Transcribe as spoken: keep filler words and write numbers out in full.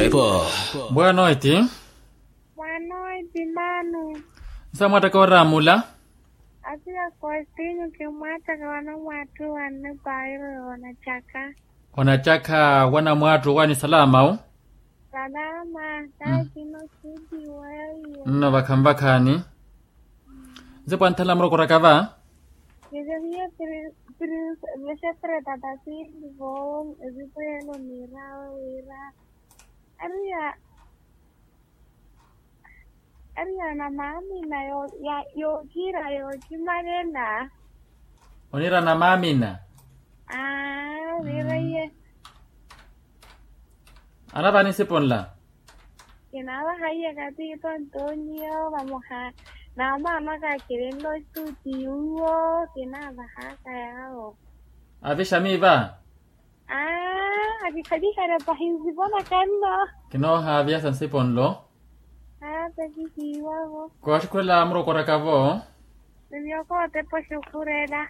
Boa noite. Boa noite, mano. Nsa mwattaka oraamula? Apiya kostinyu kimwattaka wanamwatthu wanne pairo yoonatthaka. Onatthaka wanamwatthu wani salama wu? Salama. Taakino sitiweiye. Nno vakhanvakhani. Nse pwanthala murokoraka va? Nise hiye prince vexepreta tasindi vo. Evipo yelo niirawe wira ariya ariya na maamina yookiira yookimanena. Oniira na maamina. Aa wiira iye. Anavani sipo nla? Kinaavaha iye katiito ntonyiyo vamoha na maamaka akirinlo stuti yuwo kinaavahaka yaawo. Avixami va? Aa akikhalihana pahi nsipona kanno. Kinoohaaviyasa nsipo nlo. Aa takihiiwavo. Kooxukhurela murokoraka vo? Ni miyoko otepa oxukhurela.